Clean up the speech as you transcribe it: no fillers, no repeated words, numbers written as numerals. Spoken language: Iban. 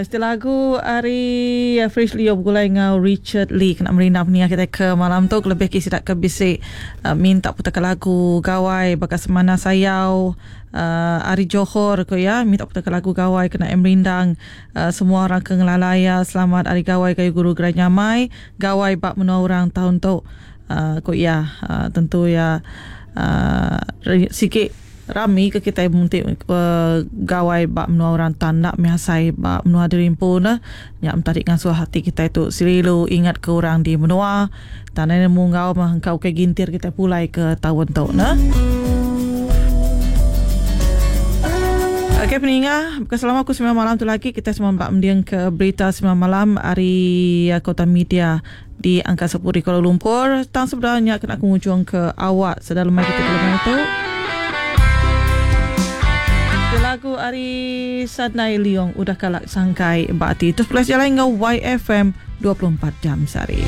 Siti lagu ari Fresh Leo begulai enggau Richard Lee kena merindang peninga kitai ke malam tu kelebih agi sida ke bisi minta putaka lagu gawai baka Semana Sayau ari Johor ku iya minta putaka lagu gawai kena iya merindang semua orang ke ngelala iya selamat ari gawai gayu guru gerai nyamai gawai ba menua orang taun tu ku iya tentu iya sigi Rami ke kitai enti gawai ba menua orang tan enda mih asai ba menua diri empu neh. Nya meh tadi ngasuh ati kitai tu selalu ingat ke orang di menua. Tan ai nemu enggau meh engka ukai gintir kitai pulai ke taun tu neh. Okey peninga, bukan selama aku sembilan malam tu lagi kitai semua ba mending ke berita sembilan malam ari Kota Media di Angkasa Puri Kuala Lumpur. Tang sebedau nya kena aku ngujung ke awak sedar lemai kita ke lemai tu. Lagu ari Sadnai Liong udah kala sangkai ba ati. Terus pulai sejalai enggau YFM 24 jam sehari.